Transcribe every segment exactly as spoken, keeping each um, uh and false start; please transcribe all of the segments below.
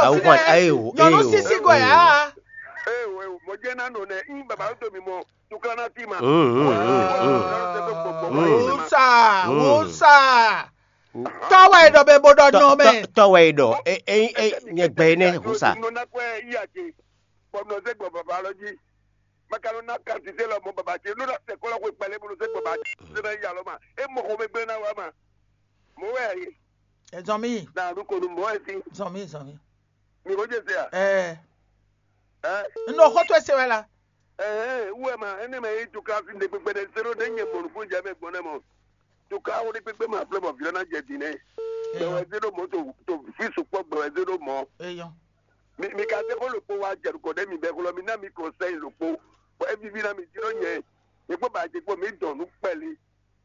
Awu kwan, ayo, nyɔnu ayo, sisi go ayo. Ya. Ee, o, o, mɔ jẹ́ ná nɔ nɛ, ń bàbá tó mi mɔ, tukla ná ti ma. Mm, mm, mm, mm. Wusa, Mm. Wusa. Tɔwɛ ɖɔ bɛ bó ɖɔ Tɔ- nɔ mɛ. tɔ- Tɔwɛ ɖɔ, e e e nyɛ gbɛ ne wusa. Nɔ na kɔ ɛ yi ake, bɔ nɔ se gbɔ bàbá lɔ jí. Makalo na kan ti se lɔ mɔ bàbá ce, nɔ na se kɔlɔ ko kpɛlɛ bolo se gbɔ bàbá ce, se na yi alɔ ma. E mɔ xɔ mɛ gbɛ na wa ma. Mɔ wɛ ayi, Ezɔn mi, na nu ko nu mɔ ɛ si. Zɔn mi, zɔn mi. Mi ko je se a? Ɛɛ, Ɛ? N ɖo xɔ to ese wɛ la. Ɛɛ, wɛ ma, ɛnɛ mɛ yi tu ka fi ne gbegbe ne se ɖo ne nyɛ mɔ nukun jɛ mɛ gbɔn ne mɔ. Tu ka wo ne gbegbe ma flɛ bɔ vi na jɛ din nɛ. Gbɛ wɛ Eyɔn, se ɖo mɔ to to fi sukpɔ gbɛ wɛ se ɖo mɔ. Eyɔn. Mi mi ka se ko lokpo wa jɛ nukɔ ɖe mi bɛ xlɔ mi na mi kɔnsɛyi lokpo. Bɔ e vivi na mi jló nyɛ. Nyɛ kpɔ ba jɛ kpɔ mi dɔn nu kpɛli.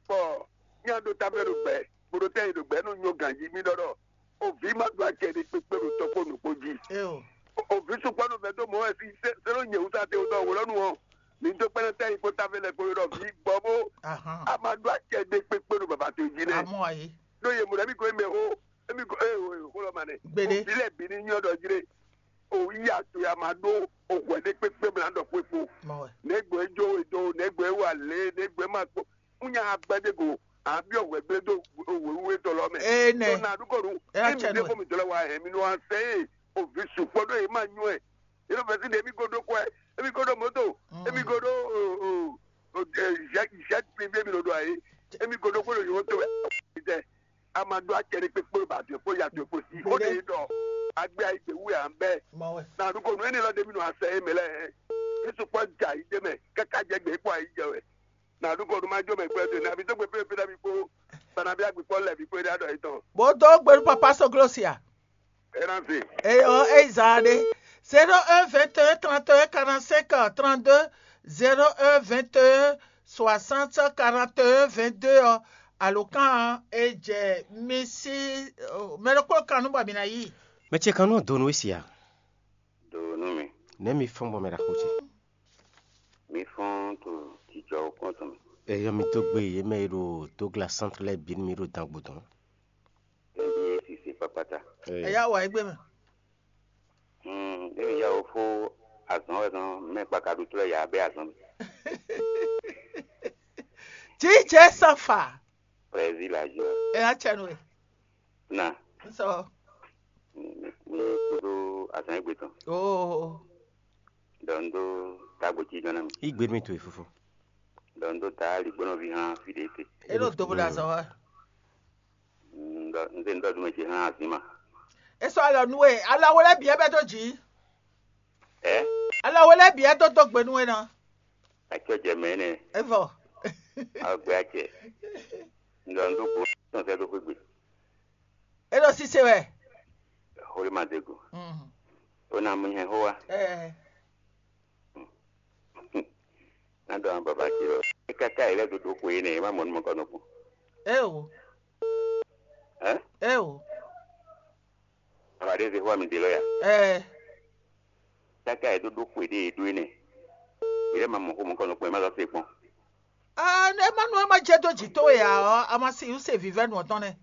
Bɔ nya ɖo ta mɛ ɖo gbɛ, bó ɖo tɛ yi ɖo gbɛ nɔ nyɔ ganji mi ɖɔ ɖɔ. O vi ma ɖo acɛ ɖe kpekpe ɖo tɔkpɔ nukpo jí. Eo. O vi sukpɔ nɔ vɛ dó mɔ wɛ si se se ɖo nyɛ wusa te wotɔ wòlɔ nu ɔ. Mi do kpɛnɛ tɛ yi kpó ta fɛ lɛ kpó ɖɔ vi gbɔ bó. Ahan. A ma ɖo acɛ ɖe kpekpe ɖo baba to jí nɛ. Amɔ ayi. Ɖó ye mɔ ɖe mi ko mɛ xó, emi ko ee o xó lɔ ma nɛ. Gbede. O vi lɛ bi ni nyɔ ɖɔ jí ɖe. O yi ato ya ma ɖó o hwɛ ɖe kpekpe mla ɖɔ kpekpo. Mɔ wɛ. Nɛgbɛ jo e do, nɛgbɛ wa lé, nɛgbɛ ma kpɔ. Ŋu nya agbɛdɛ go, a byɔ hwɛ gblé dó wěwé tɔ lɔ mɛ. Ee nɛ. Tó na ɖu kɔ ɖu. Ɛ Emi atsɛ ɖe nɔ. Ko mi dlɔ wa hɛn mi nɔ asɛ ye. O vi sukpɔ ɖo ye ma nyɔ ɛ. Ye ɖo fɛsi ɖe emi ko ɖo kɔɛ, emi ko ɖo moto, emi ko ɖo o o o ɛ zɛ zɛ privé mi ɖo ɖo ayi. Emi ko ɖo ko ɖo yɔ to ɛ. Tɛ. A ma ɖo acɛ ɖe kpekpe ba due kpo ya due kpo si. O de ɖɔ agbe ayi gbe wu ya bɛ. Mɔ wɛ. Na ɖu kɔ nu eni lɔ ɖe mi nɔ asɛ ye mɛ lɛ. Yesu kpɔ ja yi ɖe mɛ kaka jɛ gbe kpɔ ayi jɛ wɛ. Na ɖu kɔ nu ma jɔ mɛ kpɛ de na bi dó gbe pépé na bi kpo. Bana bi agbe kpɔ lɛ bi kpo ɖe adɔ yi tɔn. Bó dó gbenu papa soglosia. Ena se. Eyɔ eyi zan ɖe. Zéro un vingt et un trente et un quarante-cinq trente-deux, zéro un vingt et un soixante quarante et un vingt-deux ɔ, alokan ɔ, e jɛ mi si mɛ ɖokpó kan nu bɔ mi na yi. Mɛ ce kan nɔ do nú we sia. Do nú mi. Nɛ mi fɔn bɔ mɛ ɖaxó ce. Mi fɔn to jijɔ kɔn tɔn mi. Eyɔ mi dó gbe yě mɛ e ɖo Douglas centre lɛ́ɛ bǐ nú mi ɖo dangbo dɔn. Ebi sisi kpakpata. Ɛ yá wà égbé mɛ. Hmm, ebi ya wo fó azɔn wɛ zɔn mɛ kpaka ɖu tlɛ ya bɛ azɔn. Jíjẹ sanfa. Président la joie. Ɛ yá tsɛ nu e. Na. N sɔ. Mi mi mi kudo azɔn egbe tɔn. Oo. Dɔn do tagbo ci jɔn na mi. Igbe mi to e fofo. Dɔn do ta ali gbɔnɔ vi hã fi de te. E ɖo dobo ɖe azɔn wa. N dɔ n se n dɔ dumɛ ce hã azin ma. E sɔ alɔ nu e alɔ wo lɛ biɛ bɛ do dzi. Ɛ? Alɔ wo lɛ biɛ do do gbe nu e na. Atsɔ jɛ mɛ nɛ. E vɔ. Agbe atsɛ. N dɔ n do bo tɔn sɛ do xwe gbe. E ɖo sise wɛ. Xoli ma de go. Mhm. O na mu nyɛ xó wa. Ɛ. Na dɔ an baba ci lɔ. E kaka yi lɛ dodo xwe nɛ, e ma mɔ numɔ kɔ nɔkun. Eo. Ɛ? Eo. Baba ɖe ze xó mi de lɔ ya. Ɛ. Kaka yi dodo xwe ɖe e ɖo nɛ. E lɛ ma mɔ xó mɔ kɔ nɔkun, e ma lɔ se kpɔn. Ah, ne ma nu e ma jɛ do dzi to ya ɔ, a ma si use vivɛ nu ɔtɔn nɛ.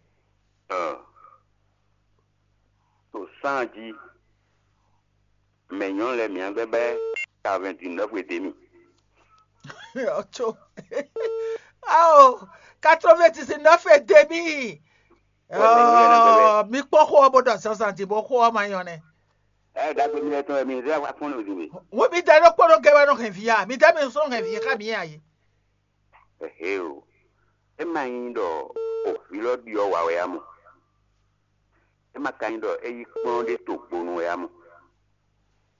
Ɔ. To san ji. Mɛ nyɔnu lɛ mǐa gbɛ bɛ quatre-vingt-dix-neuf e demi. Ɔtso. Ao, quatre-vingt-dix-neuf et demi. Ɔ, mi kpɔn xó ɔ bó ɖɔ zazan di bó xó ɔ ma nyɔ nɛ. Ɛ dagbe mi lɛ tɔn mi zɛ wa fɔn lo di mi. Wo mi da ɖo kpɔɖɔ gɛ wɛ nɔ hɛn vi ya. Mi da mi sɔ hɛn vi xa mi ya yi. Ehe o. E ma nyí ɖɔ ovi lɔ ɖiɔ wa wɛ a mɔ. E ma ka nyí ɖɔ é yí kplɔ́n ɖé to gbonu wɛ a mɔ.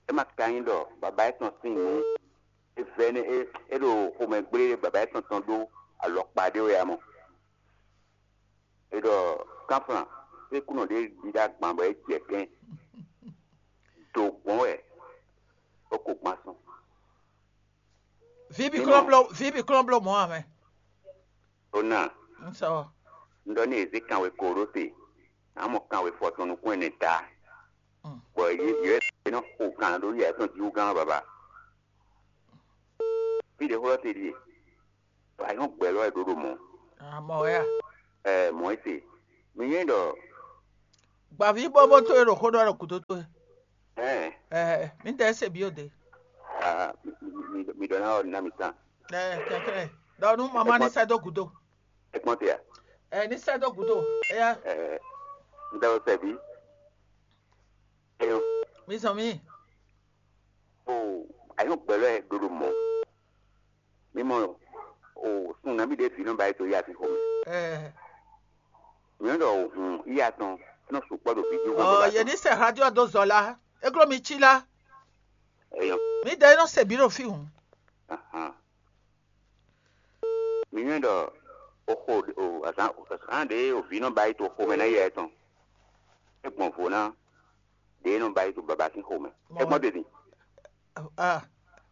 É ma ka nyí ɖɔ baba étɔn sín nǔ e vɛ́ nɛ́ é é ɖo xomɛ gblé baba étɔn tɔn ɖó alɔkpa ɖé wɛ a mɔ. É ɖɔ kánflán é kúnɔ ɖě ɖi ɖó agban bɔ é jɛ kɛ́n. Do gbɔn wɛ é ko gbán sɔn. Vibi klɔ́n bló vibi klɔ́n bló mɔ̌ ǎ mɛ. Ó ná. Un sɔ. Un ɖɔ ní yě zé kanwe ko ɖó te, ǎ mɔ kanwe fɔ tɔn nukún ɛnɛ ta. Bɔ yě yě nɔ xo kan ɖó yɛ tɔn jí wú gán baba. Fí ɖě xó lɔ te ɖíe. Wǎ nyɔ́ gbɛ lɔ wɛ ɖó ɖo mɔ̌. Amɔ wɛ a? Ɛ mɔ̌ é se. Mi nyɛ ɖɔ Gbǎví bɔ́bɔ́ towe ɖo xó ɖɔ ɖo gǔdo towe. Ɛɛ, mi dɛ se bio de. Mi ɖɔ ná ɔ́ ná mi tán. Ɛɛ, kɛkɛ. Dɔ nu mama ni sɛ do gudo. Ẹ kpɔn te a? Ɛɛ, ni sɛ do gudo. Eya, Ɛɛ, n dɛ o sɛ bi. Eyo. Mi zɔn mi. O, ayɔ gbɛlɛ dodo mɔ. Mi mɔ o sun nami ɖe vi nɔ ba yi to ya fi xɔmɛ. Ɛɛ, Mi nɔ ɖɔ o hun iya tɔn nɔ sukpɔ ɖo vi jí. Ɔ, ye ni sɛ radio do zɔ la. Eglo mi ci la. Eyo. Mi dɛ nɔ se bi ɖo fi hun. Ahan. Mi nɔ ɖɔ o xo o azan azan ɖe o vi nɔ ba yi to xɔmɛ na iya tɔn. E gbɔn vo na ɖe nɔ ba yi to baba sín xɔmɛ. E gbɔn ɖe din. Ah,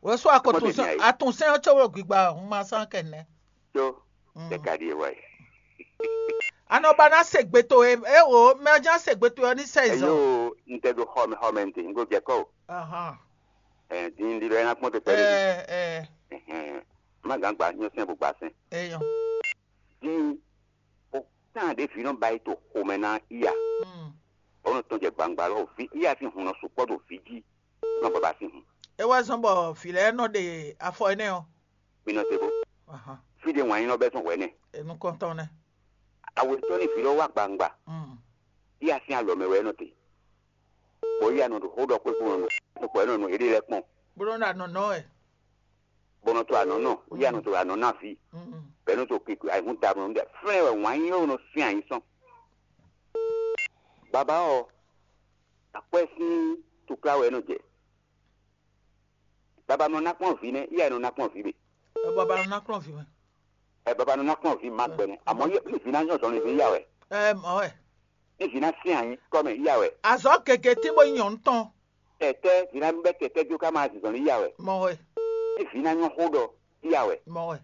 wòsó akɔtúnsɛn atúnsɛn ɔ́ tso wo gbigba hun ma sán kɛnɛ. Tó tɛ ka ɖi e wa yi. Anɔ ba ná se gbe to e e wo mɛ ɔ́ já se gbe to ɔ́ ní sɛ izɔn. Eyo n tɛ do xɔmɛ xɔmɛ n te n ko jɛ kɔ o. Ahan. Ɛ din ɖi lɔ ɛ na kpɔn te pɛ ɖe. Ɛ ɛ Ɛhɛn. Má gán gba nyɔ sɛn bó gba sɛn. Eyɔn. Din o tán ɖe vi nɔ ba yi to xɔmɛ na iya. Mm. Ɔnɔ tɔn jɛ gbangba lɔ vi iya sín hun nɔ sukpɔ ɖo vi jí nɔ baba sín hun. E wá zɔn bɔ vǐ lɛ́ɛ nɔ ɖe afɔ énɛ́ ɔ́. Mi nɔ te bó. Ahan. Fi ɖe wǎn nyí nɔ bɛ tɔn hwɛ nɛ. Enukɔntɔn nɛ. Awetɔ ní vi lɔ wá gbangba. Mm. Iya sín alɔ mɛ wɛ nɔ te. Bɔ iya nɔ ɖo xó ɖɔ kpé kpó nɔ nɔ kpó nɔ nɔ eɖe lɛ kpɔn. Bó nɔ ɖo anɔ nɔ ɛ. Bɔ nɔ to anɔ nɔ iya nɔ to anɔ na vi. Mm. Bɛ nɔ to keke ayihun da nɔ ɖe fɛn wɛ wǎn nyí nɔ sín ayi sɔn. Baba ɔ akwɛ sín tukla wɛ nɔ jɛ. Baba nɔ ná kpɔn vi nɛ iya nɔ ná kpɔn vi be. Ɛ bɔ ba nɔ ná kplɔn vǐ mɛ. Ɛ baba nɔ ná kpɔn vi ma gbɛ nɛ amɔ yɛ ní vi ná nyɔ zɔn ní vi ya wɛ. Ɛ mɔ ɛ. Ní vi ná sín anyi kɔ mɛ ya wɛ. Azɔ gege tí mo nyɔ ŋutɔn. Tɛtɛ vi ná bɛ tɛtɛ jó ká máa zizɔn ní ya wɛ. Mɔ ɛ. Ní vi ná nyɔ xó ɖɔ ya wɛ. Mɔ ɛ.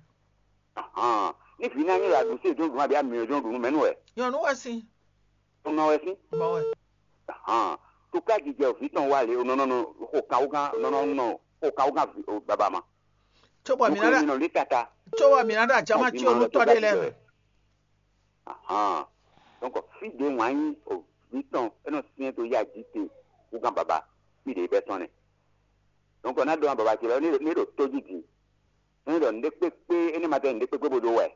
Ní vi ná nyɔ la ɖu sí ìdúnnú àbí àmì ìdúnnú mɛnú wɛ. Nyɔnu wɛ sin. Ó nɔ wɛ sí. Mɔ ɛ. Tukla jijɛ òfin tɔn wá lé onɔ nɔ xo kan wúgán nɔ nɔ nɔ xo kan wúgán baba ma. Tso bɔ mi Nukun na mi nɔ lé tata. Tso bɔ mi na ɖo ajama tí o nú tɔ ɖé lɛ mɛ. Ahan. Donc fi ɖe wǎn nyí òbí tɔn é nɔ syɛ́n dó yá jí te wúgán baba fi ɖe bɛ́ tɔn nɛ. Donc ɔ́ ná ɖɔ baba ce lɔ ní ɖo tó jí din. Ní ɖɔ nǔɖé kpékpé é ní ma tɛ nǔɖé kpékpé bó dó wɛ.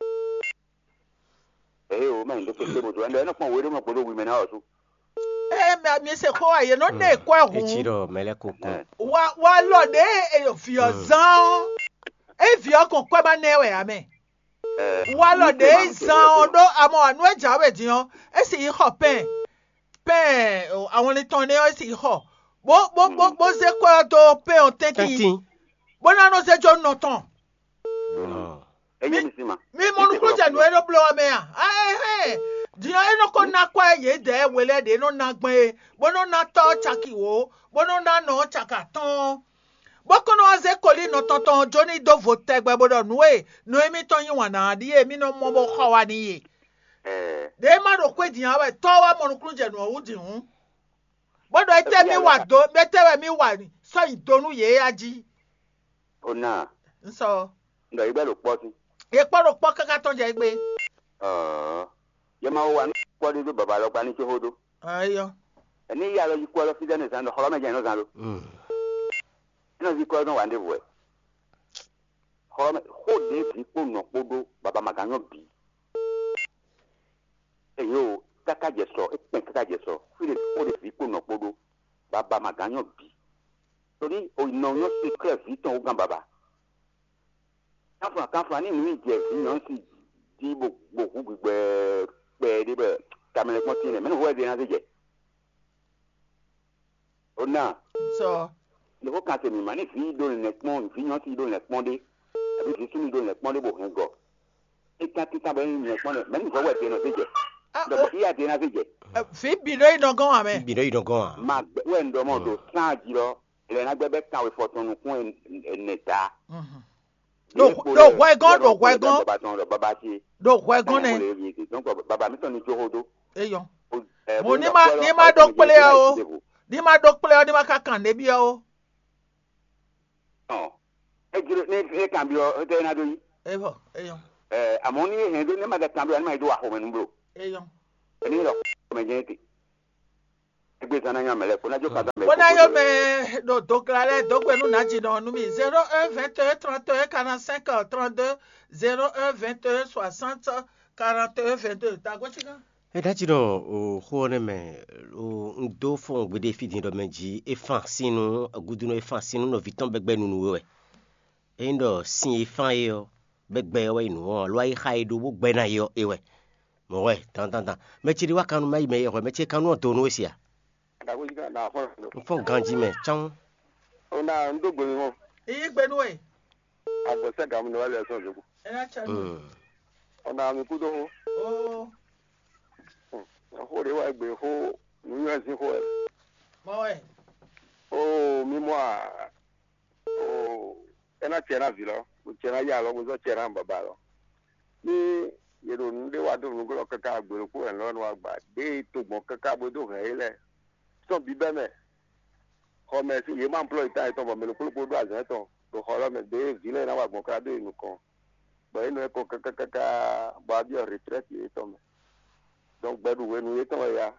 Eye o mɛ nǔɖé kpékpé bó dó wɛ. Ɛnɛ é nɔ kpɔn wéɖé mɔ gbódó wi mɛ ná ɔ́ sú. Ee mɛ mi se xó wa yě nɔ ɖe kɔ ɛ Etsi hǔn. ɖɔ mɛ lɛ́ ko kɔn. Wa wa lɔ ɖe eyɔ viɔ zan ɔ. Eyi viɔ kɔn kɔ ma nɛ wɛ amɛ. Wa lɔ ɖe zan ɔ ɖo amɔ anu e dza wɛ din ɔ. Esi yi xɔ pɛn pɛn awɔnlin tɔn nɛ ɔ esi yi xɔ. Bo bo bo bo ze kɔ ɛ do pɛn ɔ tɛntin. Tɛntin. Bo na nɔ ze jo nɔ tɔn. Ɔ. Eye mi si ma. Mi mɔ nukúnnú jɛ nǔ e ɖo bló ɔ́ mɛ a? Ɛhɛn, din ɔ́ é nɔ ko ná kwɛ́ yědɛɛ we lɛ́ɛ ɖě nɔ ná gbɛn é, bó nɔ ná tɔ́ caki wǒ, bó nɔ ná nɔ caki atɔ́ɔ́n, bó kɔn nɔ wá zé kolí nɔ tɔn tɔn jó ní dó vo tɛgbɛ bó ɖɔ nǔ e nɔ émítɔn yí wǎn ná ɔ́ ɖíe mí nɔ mɔ bó xɔ wá n'i é. Ɛɛ Ɖě é má ɖo xwé din ǎ wɛ tɔ́ ɔ́ wá mɔ nukúnnú jɛ nǔ ɔ́ wú din hǔn, bó ɖɔ étɛ́ mí wa dó, étɛ́ wɛ mí wa sɔ́ yi do nú yě a jí. o na Un sɔ n ɖɔ yi bɛ ɖo kpɔ sí. Yě kpɔ́ ɖo kpɔ́ káká tɔn jɛ gbé. Ɔɔ yɛ ma wo wa nú kpɔ ɖé dó baba lɔ gba ní tso xó dó. Ayɔ. Ní yí alɔ yi kú alɔ fídá ní zan ɖɔ xɔlɔmɛ jɛ nɔ zan lo. Mm. Nɔ zi kɔ nɔ wa ɖe vɔ. Xɔlɔmɛ xó ɖe vi kpó nɔ kpó ɖó baba ma gán nyɔ bǐ. Eyo kaka jɛ sɔ ekpɛn kaka jɛ sɔ fí ɖe xó ɖe vi kpó nɔ kpó ɖó baba ma gán nyɔ bǐ. Torí o nɔ nyɔ secret vi tɔn o gán baba. Kanfla kanfla ní nǔ yi jɛ vi nyɔ si di bo bo hu gbigbɛ kpɛ ɖe bɛ tamɛ lɛ kpɔn tin lɛ mɛ ní hu wɛ ɖe ná zé jɛ. O na Sɔ. Nǔ ko kan te mǐ ma ní vǐ ɖó nɛ̌ kpɔ́n vǐ nyɔ̌si ɖó nɛ̌ kpɔ́n ɖé, abǐ vǐ súnnu ɖó nɛ̌ kpɔ́n ɖé bó hɛn gɔ. É tán títán bɔ é nyí nɛ̌ kpɔ́n ɖé, mɛ̌ ní vɔ̌ wɛ dě nɔ zé jɛ? Ɖɔ bɔ xíyá dě ná zé jɛ? Fi bi ɖo yi nɔ gɔn wa mɛ. Bi ɖo yi nɔ gɔn a? Ma gbɛ wɛ un ɖɔ mɔ ɖo sán jí lɔ, lɛ ná gbɛ bɛ kan wɛ fɔ tɔn nukún ɛnɛ ta. Ɖo ɖo hwɛ gɔn ɖo hwɛ gɔn Baba tɔn ɖɔ baba ce. Ɖo hwɛ gɔn nɛ. Donc baba mi tɔn ni jó xó dó. Eyɔ. Ɛ, Mo ní ma ní ma ɖó kplé ɔ o. Ní ma ɖó kplé ɔ ní ma ka kàn débi ɔ o. Ɔ, ejiro ní e kan bi ɔ, e tɛ na do yi. Eyɔ eyɔ Ɛ, amɔ ní e hɛn do ní ma da kan bi ɔ, ní ma yi do wa xɔmɛ nu blo. eyɔ. Ɛni lɔ xɔmɛ jɛ te. Gbé zan ná nyá mɛ lɛ́ɛ kpó ná jó ka dó mɛ. Bó ná yɔ mɛ ɖo dogla lɛ́ɛ dó gbe nú nǎjínɔ nú mì. Zéro un vingt et un trente et un quarante-cinq trente-deux, zéro un vingt et un soixante quarante et un vingt-deux. Tago sigan. É ɖa jí ɖɔ o xó ɔ́ nɛ́ mɛ, o un dó fɔ́n gbeɖé fí din ɖɔ mɛ jí é fán sín nú gúdúnú é fán sín nú nɔví tɔn bɛgbɛ nunu we wɛ. Ényí ɖɔ sin e fán é ɔ́, bɛgbɛ ɔ́ wɛ nyí nǔ ɔ́, alo ayíxa e ɖó bó gbɛ ná é ɔ́, é wɛ. Mɔ̌ wɛ dandandan. Mɛ ce ɖé wá kannú má yi mɛ e hwɛ mɛ ce kannú ɔ́ do nú we se a? Ɖaxó jí ká ɖa afɔ. Un fɔ́n ganjí mɛ cán. Ona un dó gbe mi mɔ. Iyi gbe nú we. Agbɔ sɛ gamu ne wá lɛ sɔn zoko. Ena chan. Mm. Ona mi kudo ho. Oh. Ho de wá gbe ho nu yɔ sin ho. Mɔ we. Oh, mi mɔ a. Oo, é ná cɛ ná vǐ lɔ, bó cɛ ná ya alɔ, bó zɔ́ cɛ ná baba lɔ. Ní yě ɖo nǔ ɖé wa dó nǔglɔ́ káká gbe ɖokpó wɛ lɔ́ nɔ agba ɖěe to gbɔn káká bó dó hɛn yě lɛ́ɛ tɔn bǐbɛ́ mɛ, xɔ mɛ sín yě ma plɔ́ yě tán yětɔn bɔ mɛ ɖokpó ɖokpó ɖó azɔ̌ tɔn ɖo xɔ lɔ́ mɛ ɖěe vǐ lɛ́ɛ ná wa gbɔn káká dó yi nukɔn, bɔ yě nɔ ɛ kɔ káká káká bɔ a byɔ́ retrɛ́ti yětɔn mɛ. Dɔn gbɛɖu hwenu yětɔn wɛ ya,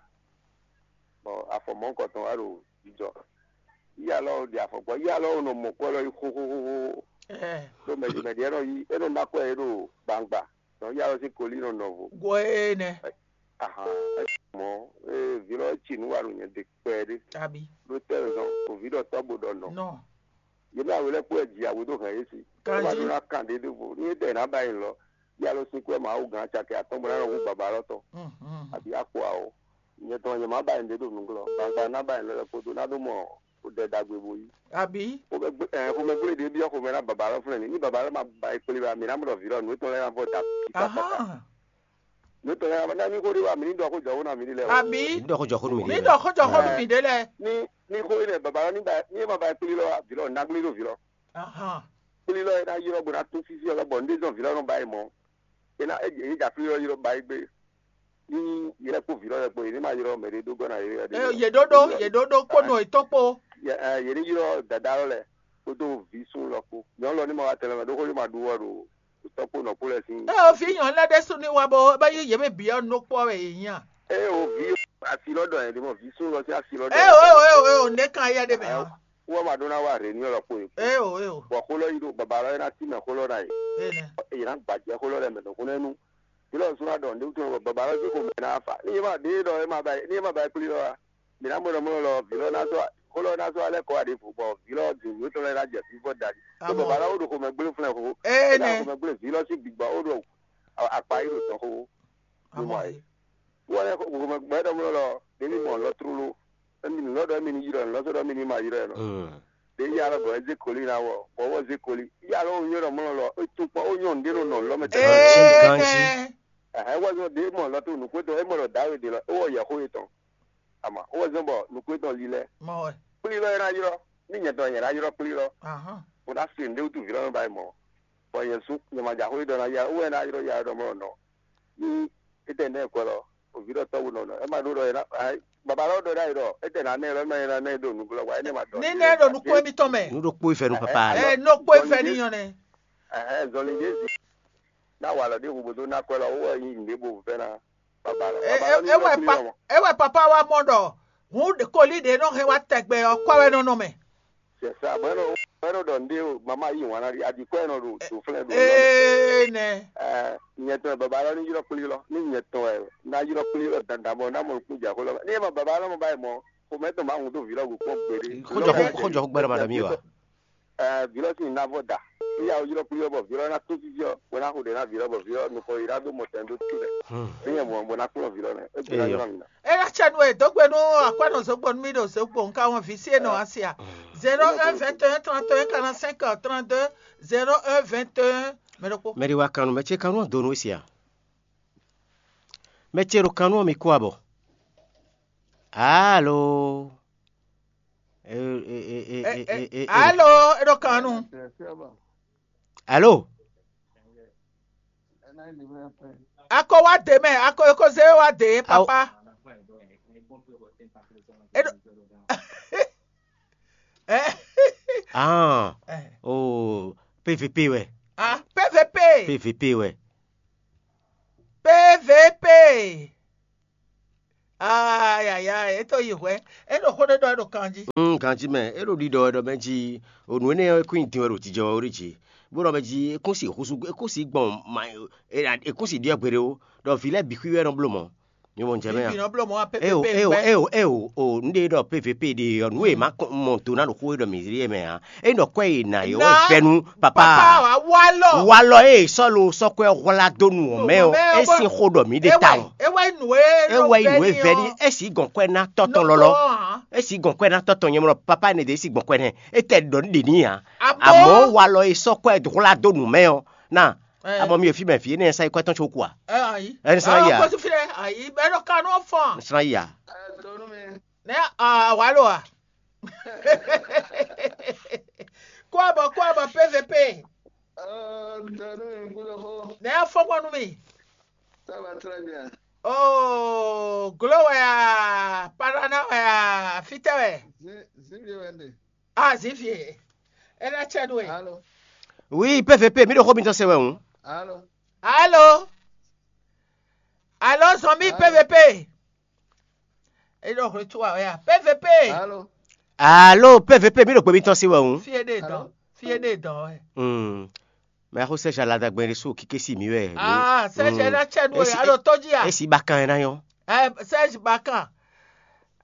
bɔ afɔ mɔ̌hunkɔtɔn wá ɖo jijɔ. Yí alɔ ɖi afɔ gbɔ, yí alɔ nɔ mɔ kɔ lɔ yi xóxóxóxó. Ɖó mɛɖi mɛɖi ɛ nɔ yi, é nɔ ná kɔ ɛ ɖo gbangba. Dɔn yí alɔ sín koli nɔ nɔ vo. Go ene. Ahan, mɔ ee vǐ lɔ ci nú wa ɖo nyɛ de kpɛɖé. Abi. Ɖó tɛ zɔn, o vǐ ɖɔ tɔ́ bo ɖɔ nɔ. Nɔ. Yě mɛ awe lɛ́ɛ kpó wɛ ji awe dó hɛn yě sí. Kanjí. Wá ɖó ná kan ɖě ɖěvo. Ní é ɖɛ ná ba nyi lɔ, yí alɔ sín kú wɛ Mawu gán cakɛ atɔ́ bó ná nɔ hú baba lɔ tɔn. Mhm. Abi akpo awo. Nyɛ tɔn nyɛ má ba nyɛ ɖě ɖo nǔglɔ́. Gbangba ná ba nyɛ lɔ kpódó ná ɖó mɔ ɖɛ ɖagbe bo yí. Abi. Xomɛgblé ɖě byɔ́ xomɛ ná baba lɔ flɛ́n ní. Ní baba lɔ ma ba yi kplé ba, mǐ ná mɔ ɖɔ vǐ lɔ nǔ étɔn lɛ́ɛ ná vɔ da. Aha. Nǔ tɔn lɛ́ɛ ná ní xó ɖé wa mǐ ní ɖɔ xó jɔxó ná mǐ ní lɛ́ɛ. Abi. Ní ɖɔ xó jɔxó nú mǐ. Ní ɖɔ xó jɔxó nú mǐ ɖé lɛ́ɛ. Ní ní xó énɛ́ baba lɔ ní ba ní é ma ba yi kplé lɔ vǐ lɔ ná gblé ɖó vǐ lɔ. Aha. Kplé lɔ é ná ylɔ́ bó ná tún sísí ɔ́ lɔbɔ nǔ ɖé zɔn vǐ lɔ nɔ ba yi mɔ̌. É ná é é dza kplé lɔ ylɔ́ ba yi gbé. Ní yɛ kpó vǐ lɔ lɛ kpó yě ní ma ylɔ́ mɛ ɖé dó gɔ́ ná yě. Yě ɖó ɖó yě ɖó ɖó kpó nɔ yětɔn kpó. Yě ní ylɔ́ dada lɔ lɛ kpódó vǐ sún lɔ kpó. Nyɔ̌nu lɔ ní ma wá tɛnlɛ mɛ ɖó xó yě ma ɖu wɔ ɖo tɔ́ kpó nɔ kpó lɛ́ɛ sín. Ée o vǐ nyɔ̌nu lɛ́ɛ ɖésú ní wa bɔ bɔ yí yě mɛ bǐ ɔ́ nɔ kpɔ́ wɛ yě nya. Ée o vǐ asi lɔ ɖɔ yě ɖi mɔ vǐ sún lɔ sín asi lɔ ɖɔ. Ée o ée o ée o ée o ne kan yɛ ɖe mɛ hã. Wɔ ma ɖó ná wá rě ní ɔlɔ kpó yě. Ée o ée o. Bɔ xó lɔ yi ɖo baba lɔ é ná tí mɛ xó lɔ ná yě. Ée nɛ. Yě ná gbajɛ xó lɔ lɛ mɛ ɖo xó nɛ́ nú. Vǐ lɔ sún ná ɖɔ nǔɖé wútu bɔ baba lɔ jí xomɛ ná fa. Ní é ma ɖě ɖɔ é ma ba ní é ma ba kplí lɔ a? Mǐ ná mɔ ɖɔ mɔ lɔ vǐ lɔ ná sɔ́ xó lɔ ná sɔ́ alɛ kɔ wá ɖěvo bɔ vǐ lɔ din nǔ tɔn lɛ́ɛ ná jɛ fífɔ dali. Tó baba lɔ ó ɖo xomɛ gblé flɛ́n xó. Ee nɛ. Xomɛ gblé vǐ lɔ sín gbǐgbɔ ó ɖo akpa yi ɖo tɔn xó. Amɔ é. Wɔ lɛ xomɛ gbɛ ɖɔ mɔ lɔ ɖě ní mɔ lɔ tlóló. Émi nǔ lɔ ɖɔ émi ní ylɔ́ nǔ lɔ sɔ́ ɖɔ émi ní ma ylɔ́ ɛ nɔ. Ɖě yá lɔ bɔ é zé koli ná wɔ, bɔ wɔ zé koli. Yá lɔ ó nyɔ́ ɖɔ mɔ lɔ é tún kpɔ́n ó nyɔ́ nǔɖé nɔ nɔ lɔ mɛ tɛnmɛ. Ganjí, ganjí. Ɛhɛn, wɔ zɔn ɖě mɔ lɔ tó nǔkpétɔn é mɔ ɖɔ dǎwe ɖě lɔ é wɔ yɛ xó yětɔn. Ama wɔ zɔn bɔ nǔkpétɔn lílɛ́. Mɔ wɛ. Kplí lɔ é ná ylɔ́, ní nyɛ tɔn nyɛ ná ylɔ́ kplí lɔ. Ahán. Bó ná se nǔɖé wútu vǐ lɔ nɔ ba yi mɔ. Bɔ nyɛ sú nyɛ ma jɛ axó ɖɔ ná yá wɛ ná ylɔ́ yá ɖɔ mɔ nɔ. Ní étɛ́ nɛ́ kwɛ lɔ, òvǐ ɖɔ tɔ́ wú nɔ nɔ. É ma ɖó ɖɔ é ná baba lɔ ɖɔ ɖ'ayǐ ɖɔ étɛ́ ná nɛ lɔ é ma nyɛ ná nɛ ɖo nǔglɔ́ wa énɛ́ ma ɖɔ. Ní nɛ́ ɖo nukún émítɔn mɛ. Nú ɖokpó ifɛ nú papa lɔ. Ɛ nukún ifɛ ní nyɔ nɛ. Ɛhɛn zɔnlin ɖé zi. Ná wa lɔ ɖé hu bó dó ná kwɛ lɔ wó wɛ nyí nǔɖé bó vɛ́ ná baba lɔ. Baba lɔ ní É wɛ pa é wɛ papa wa mɔ ɖɔ hǔn koli ɖě nɔ hɛn wá tɛgbɛ ɔ́ kɔ wɛ nɔ nɔ mɛ. Sɛ sa bɔ ɛnɔ ɛnɔ ɖɔ nɖé o mama yi wan na ɖi adi kɔ ɛnɔ ɖo do flɛ ɖo. Ee nɛ. Ɛ nyɛ tɔn baba lɔ ni yrɔ kpli lɔ ni nyɛ tɔn ɛ na yrɔ kpli lɔ dandan bɔ na mɔ nukun dza ko lɔ ni ma baba lɔ mɔ ba yi mɔ xomɛ tɔn ma ŋun do vi lɔ go kpɔ gbeɖe. Xɔjɔ xɔjɔ gbɛrɛ ma dami wa. Ɛ vi lɔ si na vɔ da ni ya yrɔ kpli lɔ bɔ vi lɔ na to sisi ɔ wɛ na xo ɖe na vi lɔ bɔ vi lɔ nukɔ yi na do mɔ tɛn do tu lɛ ni yɛ mɔ bɔ na kplɔ vi lɔ nɛ e gbe na yɔ na mi na. Eya cɛ nu e dó gbe nú akwɛ́nɔ zokpo nú mì ɖo zokpo nka wɔn vǐ sí e nɔ asi a. Zéro un vingt et un trente et un quarante-cinq trente-deux zéro un vingt et un. Mɛ ɖokpó. Mɛ ɖi wa kannu mɛ ce kannu ɔ́ do nú we sia. Mɛ ce ɖo kannu ɔ́ mi kú abɔ. Alo. Alo, e ɖo kannu. Alo. A ko wá dě mɛ, a ko e ko zé wá dě, papa. Eɖo. Eh. Ah. Oh, P V P wɛ. Ah, P V P. P V P wɛ. P V P. Ah, Yaya, é tó yi hwɛ̌. É ɖo xó ɖé ɖɔ é ɖo kanjí. Un ganjí mɛ, é ɖo ɖiɖɔ wɛ ɖɔ mɛ jí, o nǔ énɛ́ ɔ́, é kún nyi din wɛ ɖo jijɛ wɛ ó ɖi jí. Bó ɖɔ mɛ jí, é kún si húzú, é kún si gbɔn ma, é kún si ɖiɖɔ gbeɖé ó, ɖɔ vǐ lɛ́ɛ bǐ xwí wɛ nɔ bló mɔ̌. Mi mɔ jɛ mɛ a? Eo, eo, eo, eo, o, un ɖe ɖɔ P V P ɖe ɔ́, nǔ e ma kɔn mɔ do ná ɖo xó e ɖɔ mǐ ɖe mɛ ǎ. É nɔ kwɛ e nǎ yɔ wɛ vɛ́ nú papa. Walɔ. Walɔ e sɔ́ lo sɔ́ kwɛ hwlá dó nu ɔ́ mɛ ɔ́, é sín xó ɖɔ mǐ ɖe tawun. É wɛ nǔ e é wɛ nǔ e vɛ́ ní, é sǐ gɔn kwɛ ná tɔ́ tɔn lɔlɔ. É sǐ gɔn kwɛ ná tɔ́ tɔn nyɛ mɔ papa ne ɖe é sǐ gbɔn kwɛ nɛ́. É tɛ ɖɔ nú ɖě ní ǎ. Amɔ̌ walɔ e sɔ́ kwɛ hwlá dó nu mɛ ɔ́ ná. Abɔ mi ɖo fí mɛ fí énɛ́ sa yi kwɛ́ tɔn có kú a? Ɛ ayi. Ɛ ní sán yi a? Ɔ kɔsi fi ɖe ayi bɛ ɖo kanu fɔn. Ní sán yi a? Ɛ donu mi. Ne a wa lo a? Kó abɔ kó abɔ P V P. Ɛ donu mi kúló xó. Ne a fɔn kɔn nú mi. Ça va très bien. Oh, glo wɛ a, parana wɛ a, fitɛ wɛ. Zi zi vi wɛ nde. Ah, Xavier. É ná cɛ nú we. Alo. Oui, P V P, mi ɖo xó mitɔn se wɛ hǔn. Alo. Alo. Alo, zɔn mi P V P. É ɖo hwlɛ́tu wa wɛ a? P V P. Alo. Alo, P V P, mi ɖo gbe mitɔn se wɛ hǔn. Fie ɖe dɔn. Fie ɖe dɔn wɛ. Hmm. Mɛ xó sɛ́ jaladagbɛn ɖé sú kíké sí mǐ wɛ. Ah, sɛ́ jɛ ná cɛ nú we, alo tó jí a? Esi bakan ɛ ná nyɔ́. Ɛ, Serge Bakan.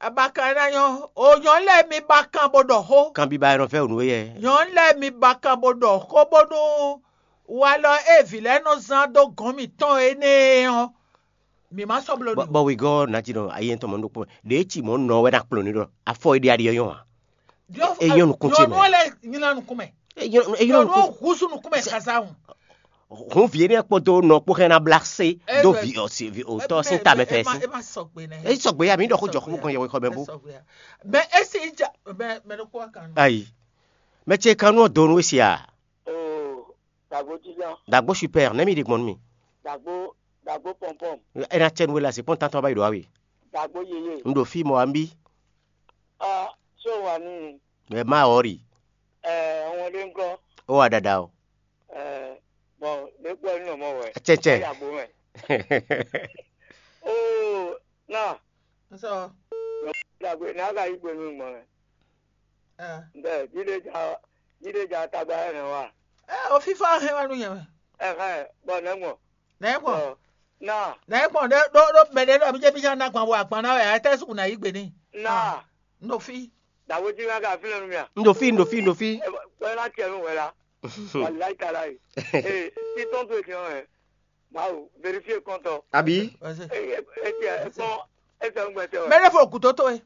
Abakan ɛ ná nyɔ́. O nyɔ̌nu lɛ́ɛ mi bakan bó ɖɔ xó. Kanbiba ɛ nɔ vɛ́ wǔ nú we yɛ. Nyɔ̌nu lɛ́ɛ mi bakan bó ɖɔ xó bónú walɔ e vǐ lɛ́ɛ nɔ zán dó gɔ̌n mǐtɔn énɛ́ ɔ́, mǐ má sɔ́ bló n'i. Bɔ wegɔ́ ná jí nɔ ayi tɔn mɔ ɖokpó mɛ ɖě ci mɔ̌ nɔ wɛ ná kplɔ́n ní ɖɔ afɔ e ɖe aɖi ɔ́ nyɔ́ ǎ. É nyɔ́ nukún ce mɛ. Nyɔ̌nu ɔ́ lɛ́ nylá nukún mɛ. É nyɔ́ é nyɔ́ Nyɔ̌nu nukún. Ɔ́ húzú nukún mɛ kaza hùn. Hǔn vǐ énɛ́ kpódó nɔ kpó xɛ ná blá sé dó vǐ ɔ sí vǐ òtɔ́ sín ta mɛ fɛ sí. É má sɔgbe nɛ. É sɔgbe ya mǐ ɖɔ xó jɔ xó kɔn yɛwexɔ mɛ bó. Mɛ é sì ja mɛ mɛ ɖokpó wá kan. Ayi. Mɛ ce kan nú ɔ donu é sia. Oo, dàgbò jíjá. Dàgbò super, nɛ́ mi ɖi gbɔn nú mi. Dàgbò dàgbò pɔmpɔm. Ena cɛ nú we la se kpɔn tantɔ ba yi ɖo awe. Dàgbò yeye. N ɖo fí mɔ ambi. Ah, so wà ní. Ɛ má ɔri. Ɛ wọn ɖe ŋkɔ. Ó wa dada o. Ɛ bɔn ɖe kpɔ ní nɔ mɔ wɛ. Cɛcɛ. Ɛ yà gbó mɛ. Oo, na. N sɔ. Dàgbò ní a ka yí gbé nú gbɔn mɛ. Bɛ jíde ja jíde ja tagba yɛ nɛ wa. Ɛ o fífá hɛn wá nú yẹn mɛ. Ɛhɛn, bɔ nɛ gbɔn. Nɛ gbɔn. Ɔ, na. Nɛ gbɔn ɖe ɖo ɖo mɛ ɖe ɖɔ mi jɛ mi jɛ na gban wo agban na wɛ a tɛ suku na yi gbe ni. Na. N ɖo fí. Dawo ji ŋa ka fi lɛ nu mia. N ɖo fí, n ɖo fí, n ɖo fí. Ɛ bɔ ɛ na tiɛ nu wɛ la. Walayi ta la yi. Ee, titɔn to tiɲɔ wɛ. Mawu, vérifier kɔntɔ. Abi. Eye etiɛ kpɔn etsɛ ŋgbɛ tɛ wɛ. Mɛ ɖe fɔ kuto to ye.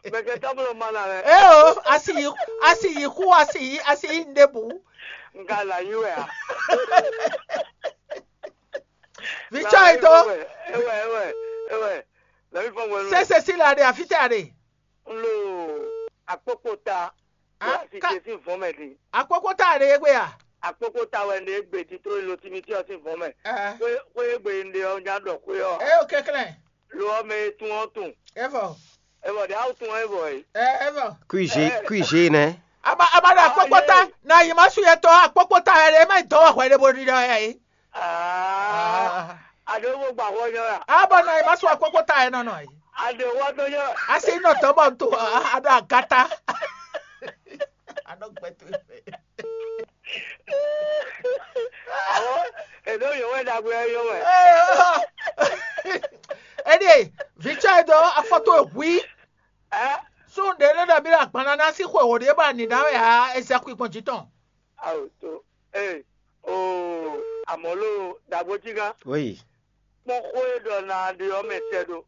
Mɛ kɛ tablo ma na lɛ. Ee o, asi yi asi yi xu asi yi asi yi n ɖe bu. N ka la yi wɛ a. Vitsɔ yi to. Ewɛ ewɛ ewɛ. Lɛbi fɔ wɛ. Sese si la de afi tɛ a de. N lo akpokpota. Asi te sín vɔ̌n mɛ din. Akpokpota a de ye gbe a? Akpokpota wɛ n de egbe titlo lo timiti ɔ sín vɔ̌n mɛ. Xwé xwé egbe n de ɔ nya ɖɔ xwé ɔ. Ɛ o kɛklɛn. Lo ɔ mɛ e tun ɔ tun. Evɔ. Evɔ de awu tun ɔ evɔ e. Ɛ evɔ. Kuize kuize nɛ. Aba aba ɖo akpokpota na yi ma su yɛ tɔ akpokpota yɛ de ma yi dɔ wɔ hwɛ de bo ɖi ɖɔ yɛ yi. Aa. Aɖewo gba xɔ nyɔ ya. Aba na yi ma su akpokpota yɛ nɔ nɔ yi. Aɖewo wa dɔ nyɔ. Asi nɔ dɔ bɔ nto aɖo agata. Aɖo gbɛto. Awo eɖo yɔ wɛ ɖagbe yɔ wɛ. Ɛɖie vitsɔ yi dɔ afɔto ehwi. Ɛ. Sun ɖe lɛ ɖɔ mi ɖo agbanna ná sí xwe wò ɖe bɔ ani ná wɛ á ezɛ kú gbɔn jí tɔn. Awo to ee oo amɔlo dagbo jí gán. Oui. Kpɔn xó e ɖɔ na ɖe ɔ́ mɛ tɛ ɖo.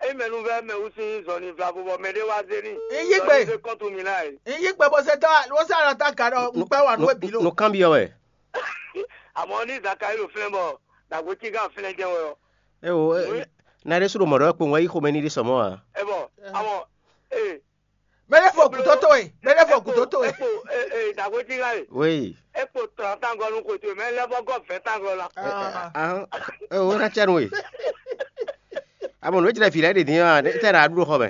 Eyi mɛ nu vɛ mɛ wú sín zɔnlin vlavo bɔ mɛ ɖé wá zé ní. N yí gbe. Zɔnlin zé kɔntu mi ná yi. N yí gbe bó se dá bó se alɔ dá ga ɖɔ n gbɛ wà nú ebi ló. Nukánbyɔ́ wɛ. Àmọ́ ní Zakayi ɖo flɛ́n bɔ dàgbò cí gán flɛ́n jẹ́ wɛ ɔ. Ewo, na ɖé sú ɖo mɔ̌ ɖɔ kpowun wɛ yí xomɛ ní ɖé sɔmɔ́ ǎ. Ɛ bɔ àmọ́ ee. Mɛ ɖé fɔ gǔdó towe, mɛ ɖé fɔ gǔdó towe. Ekpo ee dàgbò cí gán e. Wéyi. Ekpo tɔn tangɔ nu xwe towe mɛ lɛ bɔ gɔ vɛ tangɔ la. Ahán, ewo ná cɛ nu we. Amɔ nǔ e jlɛ vǐ lɛ́ɛ ɖe din ɔ́, tɛ ɖo aɖúɖó xɔ mɛ.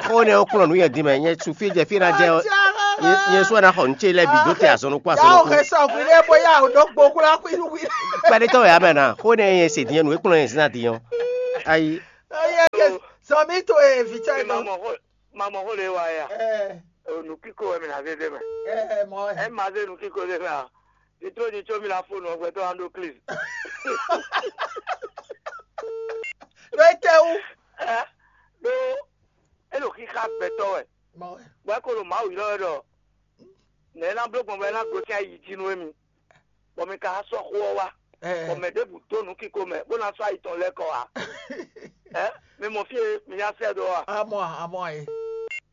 Xó nɛ wó kplɔ́n nǔ yɛ din mɛ, nyɛ su fí jɛ fí ná jɛ ɔ́. Nyɛ sɔ ná xɔ nǔ ce lɛ́ɛ bǐ dó te azɔn ɖokpó azɔn ɖokpó. Xɛ sɔ hwi ɖé bó yá o dó gbo kplá hwi hwi. Kpɛɖétɔ́ wɛ amɛ ná xó nɛ nyɛ se din nyɛ nǔ e kplɔ́n nyɛ zin ná din ɔ́. Ayi. Zɔn mi to e vǐ cɛ nɔ. Mamɔ xó lè wa ya. Nǔ kíkó wɛ mi ná zé dé mɛ. Ɛ ma zé nǔ kíkó dé mɛ a? Ní tró ní tsó mi ná fó nǔ ɔgbɛ tó wá ɖó klin. Ɖó é tɛ wú. Ɛ ɖó é ɖo xíxá gbɛtɔ́ wɛ. Bɔ é ko ɖo Mawu ylɔ́ wɛ ɖɔ nɛ̌ é ná bló gbɔn bɔ é ná gosín ayi jí nú émi, bɔ mi ka sɔ́ xó ɔ́ wá, bɔ mɛ ɖěbǔ dó nǔ kíko mɛ bó ná sɔ́ ayi tɔn lɛ́ kɔ ǎ. Ɛ mi mɔ fí e mi ná sɛ́ dó a? Amɔ amɔ e.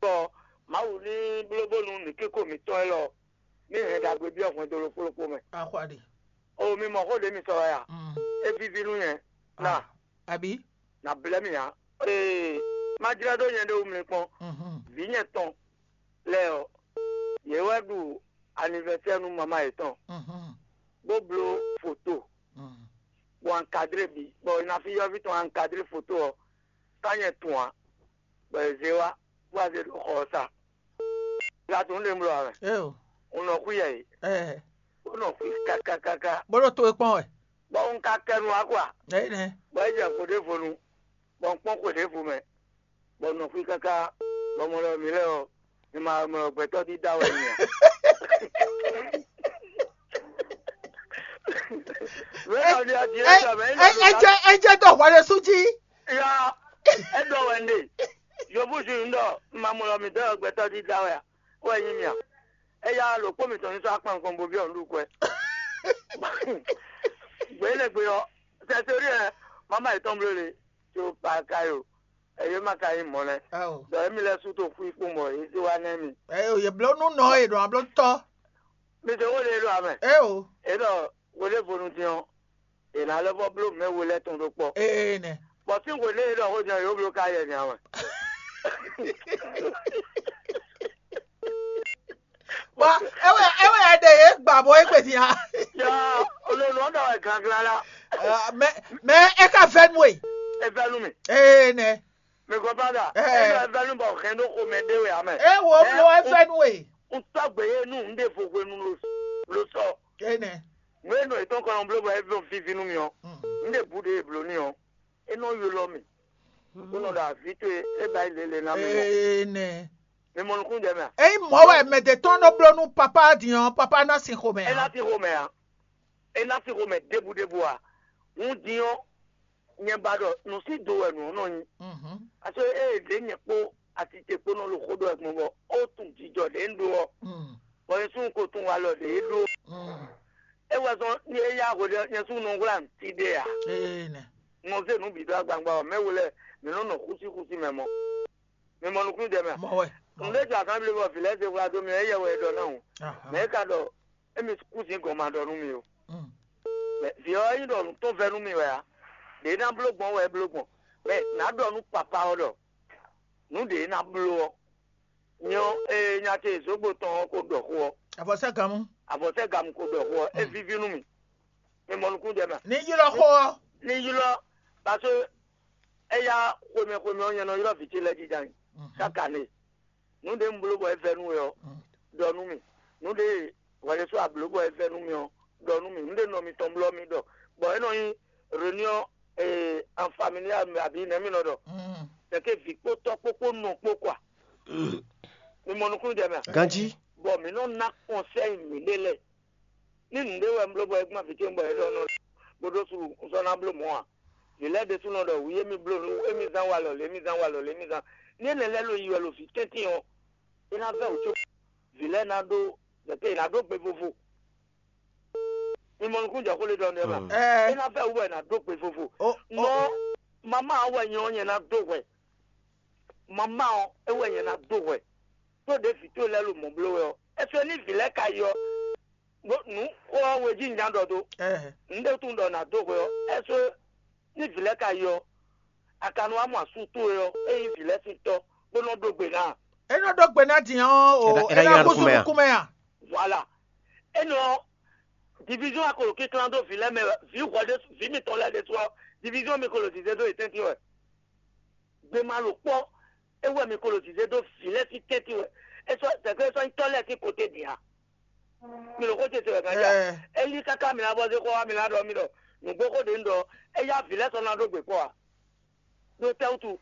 Bɔ Mawu ní bló bónú nǔ kíko mǐtɔn élɔ́ ní hɛn ɖagbe byɔ́ hwɛndo ɖokpó ɖokpó mɛ. Axwaɖi. O mi mɔ xó ɖě mi sɔ wɛ a? Mm. É víví nú nyɛ. Na Abi. Na blɛ́ mì ǎ. Ee, má jlɛ́ ɖó nyɛ ɖé wú mlɛkpɔ́n. Mhm. Vǐ nyɛ tɔn lɛ́ɛ ɔ́, yě wɛ ɖu anivɛsɛ́ nú mamá yětɔn, Mhm. bó bló foto, Mhm. bɔ ankadré bǐ, bɔ Nafi yɔ́ví tɔn ankadré foto ɔ́, ká nyɛ tun ǎ, bɔ è zé wá, bó wá zé ɖo xɔ ɔ́ sa. Gǎtún ɖe un ɖo ǎ wɛ. Eo. Un nɔ xwí yɛ yě. Ɛ. Bó nɔ xwí káká káká. Bó ɖo to e kpɔ́n wɛ. Bɔ un ka kɛ nu wá kɔ a? Ɛ nɛ. Bɔ é jɛ xwe ɖěvo nu, bɔ un kpɔ́n xwe ɖěvo mɛ, bɔ un nɔ xwí káká, bɔ mɔ lɔ mǐ lɛ́ɛ ɔ́, mi ma mɔ gbɛtɔ́ dídá wɛ mi a? Mɛ nɔ ɖi adi ɛ jɔ mɛ. Ɛ jɛ ɛ jɛ dɔ hwɛ ɖe sú jí. Ya, é ɖɔ wɛ un ɖe. Yobu ju un ɖɔ un ma mɔ lɔ mǐ dɔ́ gbɛtɔ́ dídá wɛ a? Wɛ nyí mì a? Éyá ɖokpó mǐtɔn ní sɔ́ akpan nukɔn bo byɔ́ nǔɖuɖu kwɛ. Gbě énɛ́ gbe ɔ́, Sɛseri ɛ, mama yětɔn bló le, tso Pakayo, ɛyě ma ka nyí mɔ̌ lɛ́ɛ. Ɖɔ émí lɛ́ɛ sú to xwí kpó mɔ yě zé wá nɛ́ mì. Ɛyě yě bló nú nɔ e ɖo abló tɔ́. Mi se xó ɖé ɖo amɛ. É o. É ɖɔ hweɖěvonu din ɔ́, è nǎ lɛ́ vɔ́ bló mɛ we lɛ́ɛ tɔn ɖó kpɔ́. Ee nɛ. Bɔ sín hweɖée e ɖɔ xó din ɔ́, yǒ bló ka yɛ nya wɛ. Bɔ é wɛ é wɛ a ɖe yě gbǎ bɔ é gbe din a? Ya, olóòlù ɔ́ ɖɔ wɛ ganglala. Mɛ mɛ é ka vɛ́ nú we. É vɛ́ nú mì. Ee nɛ. Mi gɔ́ bá ɖa. Ɛ. É ɖɔ é vɛ́ nú bɔ hɛn ɖó xomɛ ɖé wɛ ǎ mɛ. É wo bló é vɛ́ nú we. Un tɔ́ gbe yé nú un ɖe vo hwenu lo lo sɔ. Énɛ. Nǔ e nɔ yětɔn kɔ nɔ bló bɔ é vɛ́ víví nú mi ɔ́, un ɖe bǔ ɖe e blǒ n'i ɔ́, é nɔ ylɔ́ mì, bó nɔ ɖo avǐ towe é ba yi lě lě ná mi mɔ. Énɛ. Mi mɔ nukúnnú jɛ mɛ a? Ényí mɔ̌ wɛ mɛ ɖě tɔn nɔ bló nú papá din ɔ́, papá ná sin xomɛ É ná ǎ. Sín xomɛ ǎ. É ná sín xomɛ ɖěbǔ ɖěbǔ ǎ. Hǔn din ɔ́, nyɛ ba ɖɔ nǔsído wɛ nǔ ɔ́ nɔ nyí. Mhm. Aso ée ɖě nyɛ kpó asite kpó nɔ ɖo xó ɖɔ wɛ gbɔn bɔ ó tunwun jijɔ ɖě un ɖó ɔ́, Mm. bɔ nyɛ súnnu ko tunwun alɔ ɖě é ɖó. Mm. É wɛ zɔn é yá hwe ɖé nyɛ súnnu nɔ hwlá nǔti ɖé ǎ. Énɛ. Nɔ zé nǔ bǐ ɖó agbangba ɔ́, mɛ wo lɛ́ɛ mǐ nɔ nɔ xúsíxúsí mɛ mɔ. Mi mɔ nukúnnú jɛ mɛ a? Mɔ wɛ. Nǔɖé jɔ akanblé bɔ vǐ lɛ́ɛ zé hwlá dó mi ɔ́, éyɛ́ wɛ é ɖɔ ná hǔn. Aha. Mɛ é ka ɖɔ émi kú sin gɔn ma ɖɔ nú mi o. Mm. Mɛ vǐ ɔ́ nyí ɖɔ nǔ tɔn vɛ́ nú mi wɛ ǎ. Ɖě ná bló gbɔn wɛ é bló gbɔn. Mɛ nǎ ɖɔ nú papa ɔ́ ɖɔ nǔ ɖě ná bló ɔ́, nyɔ ee nya ce zǒgbo tɔn ɔ́ ko ɖɔ xó ɔ́, Avɔsɛ́ganmú. Avɔsɛ́ganmu ko ɖɔ xó ɔ́, é Mm. víví nú mi. Mi mɔ nukúnnú jɛ mɛ a? Ní ylɔ́ xó ɔ́. Ní ylɔ́, parce que éyá xwemɛ xwemɛ ɔ́, nyɛ nɔ ylɔ́ vǐ ce lɛ́ɛ jija nyi. Mhm. Káka nɛ. Nǔ ɖé un bló bɔ é vɛ́ nú we ɔ́, Mm. ɖɔ nú mì. Nǔ ɖé hwɛɖésú a blǒ bɔ é vɛ́ nú mì ɔ́, ɖɔ nú mì. Nǔ ɖé nɔ mitɔn blɔ́ mì ɖɔ, bɔ é nɔ nyí réunion en familiale abǐ nɛ̌ mì nɔ ɖɔ. Mm. Tɛ̌ ke vǐ kpó tɔ́ kpó kpó nɔ kpó kɔ a? Mi mɔ nukúnnú jɛ mɛ a? Ganjí. Bɔ mǐ nɔ ná kɔnsɛ́yi mǐɖée lɛ́ɛ. Ní nǔɖé wɛ un bló bɔ é gbɔn vǐ ce bɔ é ɖɔ nɔ bó ɖó suɖu un sɔ́ ná bló mɔ̌ ǎ. Vǐ lɛ́ɛ ɖésúnɔ ɖɔ wǔ émí bló nú émí zán walɔ lě émí zán walɔ lě émí zán. Ní énɛ́ lɛ́ɛ ló yi wɛ ɖo vǐ tɛ́ntin ɔ́, é ná vɛ́ wǔ có vǐ lɛ́ɛ ná ɖó zɛ̌tɛ́ è nǎ ɖó gbe vovo. Mi mɔ nukúnnú jɛ xó lé ɖɔ nú ɛ ma. Mm. É ná vɛ́ wǔ wɛ è nǎ ɖó gbe vovo. Ó, ó. Nɔ mamá ɔ́ wɛ nyɛ ɔ́ nyɛ ná dó hwɛ. Mamá ɔ́ é wɛ nyɛ ná dó hwɛ. Tó ɖě vǐ towe lɛ́ɛ ɖo mɔ̌ bló wɛ ɔ́, é sɔ́ ní vǐ lɛ́ɛ ka yi ɔ́, nǔ xó ɔ́ we jí nya ɖɔ dó. Ɛhɛ. Un ɖe tunwun ɖɔ nǎ dó hwɛ ɔ́, é sɔ́ ní vǐ lɛ́ɛ ka yi ɔ́, a ka nɔ wá mɔ asú towe ɔ́, é nyí vǐ lɛ́ɛ sín tɔ́, bó nɔ ɖó gbe ná. É nɔ ɖó gbe ná din ɔ́ o, É ná- é é ná ná yi ná húzú nukúnmɛ a? Nukúnmɛ a? Voilà. Énɛ́ ɔ́, division a ko ɖo kínklán dó vǐ lɛ́ɛ mɛ wɛ, vǐ hwɛ ɖé vǐ mitɔn lɛ́ɛ ɖésú ɔ́, division mi ko ɖo zǐzé dó yě tɛ́ntin wɛ. Gbema lǒ kpɔ́, é wɛ mi ko ɖo zǐzé dó vǐ lɛ́ɛ sín tɛ́ntin wɛ. É sɔ́ tɛ̌kpé é sɔ́ nyí tɔ́ lɛ́ɛ sín koté din a? Mi ɖo xó ce se wɛ kan ja. Ɛ. É yí káká mi ná bɔ zé xó wá mi ná ɖɔ mi ɖɔ nǔgbó xó ɖě un ɖɔ é yá vǐ lɛ́ɛ sɔ́ ná ɖó gbě kpɔ́ a? Ɖó tɛ́ wútu?